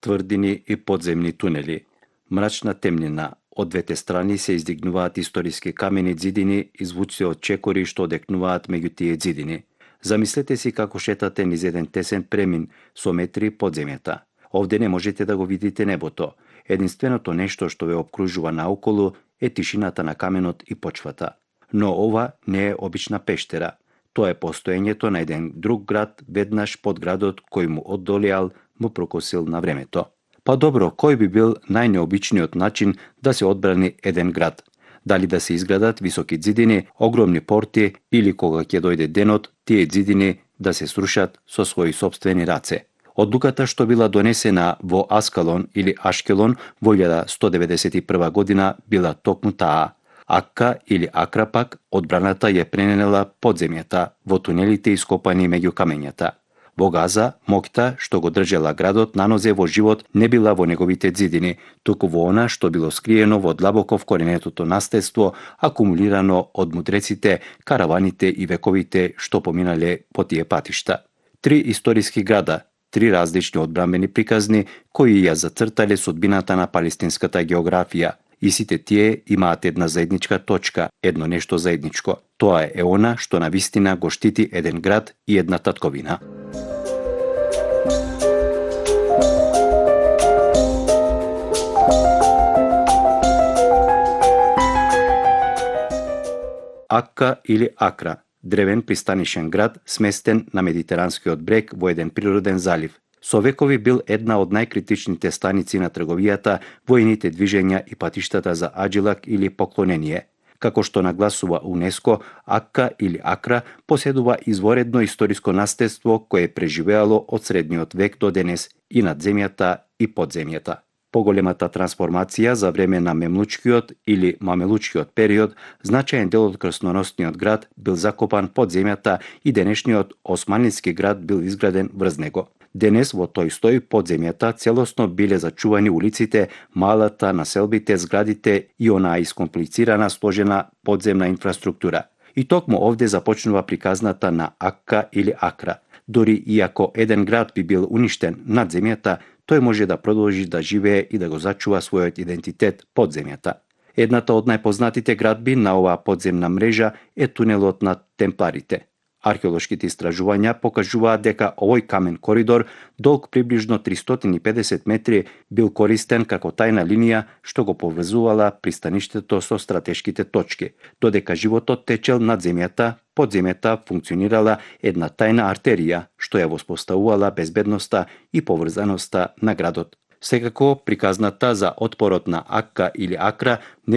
тврдини и подземни тунели. Мрачна темнина. Од двете страни се издигнуваат историски камени ѕидини и звуци од чекори што одекнуваат меѓу тие ѕидини. Замислете си како шетате низ еден тесен премин со метри под земјата. Овде не можете да го видите небото. Единственото нешто што ве обкружува наоколу е тишината на каменот и почвата. Но ова не е обична пештера. Тоа е постоењето на еден друг град веднаш под градот кој му оддолеал му прокосил на времето. Па добро, кој би бил најнеобичниот начин да се одбрани еден град? Дали да се изградат високи ѕидини, огромни порти или кога ќе дојде денот, тие ѕидини да се срушат со своји сопствени раце? Одлуката што била донесена во Аскалон или Ашкелон во 1191 година била токму таа. Акка или Акра пак одбраната ја прененела под земјата во тунелите ископани меѓу камењата. Во Газа, моќта што го држела градот на нозе во живот не била во неговите ѕидини, туку во она што било скриено во длабоко вкоренетото наследство, акумулирано од мудреците, караваните и вековите што поминале по тие патишта. 3 историски града, 3 различни одбранбени приказни кои ја зацртале судбината на палестинската географија. И сите тие имаат една заедничка точка, едно нешто заедничко. Тоа е она што на вистина го штити еден град и една татковина. Акка или Акра, древен пристанишен град сместен на медитеранскиот брег во еден природен залив. Со векови бил една од најкритичните станици на трговијата, војните движења и патиштата за аджилак или поклонение. Како што нагласува УНЕСКО, Акка или Акра поседува изворедно историско наследство кое е преживеало од средниот век до денес и над земјата и под земјата. Поголемата трансформација за време на мемлучкиот или мамелучкиот период, значаен дел од крстоносниот град бил закопан под земјата и денешниот османлиски град бил изграден врз него. Денес во тој стој под земјата целосно биле зачувани улиците, малата, населбите, зградите и онаа искомплицирана сложена подземна инфраструктура. И токму овде започнува приказната на Акка или Акра. Дори иако еден град би бил уништен над земјата, тој може да продолжи да живее и да го зачува својот идентитет под земјата. Едната од најпознатите градби на оваа подземна мрежа е тунелот на Темпларите. Археолошките истражувања покажуваат дека овој камен коридор, долг приближно 350 метри, бил користен како тајна линија што го поврзувала пристаништето со стратешките точки, додека животот течел над земјата, под земјата функционирала една тајна артерија што ја воспоставувала безбедноста и поврзаноста на градот. Секако, приказната за отпорот на Акка или Акра не